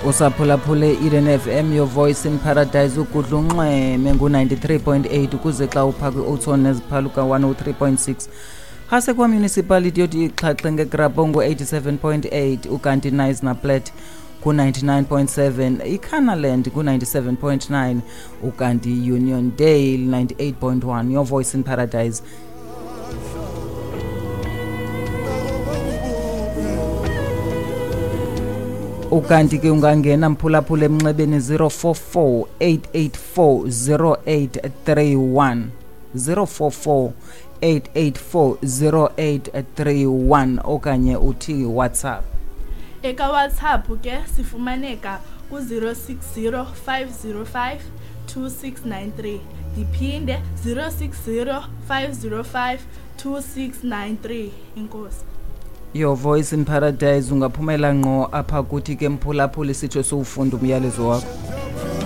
Usaphulaphule Eden FM, your voice in paradise. Ugudla unxweme ngu-93.8 ukuze xa upha kwi-oton neziphaluka 103.6, hase kwamunicipality yothi ixhaxhe ngegrabho ngu-87.8, ukanti Knysna Plat ku-99.7, iCannerland ku-97.9, ukanti Uniondale 98.1. Your voice in paradise. Ukanti ke ungangena, mphulaphula, emnxebeni 044 884 0831, 044 884 0831, okanye uthi WhatsApp. Eka WhatsApp ke sifumaneka ku-060 505 2693. Ndiphinde, 060 505 2693. Inkosi. Your voice in paradise. Ungaphumela ngqo apha kuthi ke, mphulaphuli, sitsho siwufunda umyalezo wakho.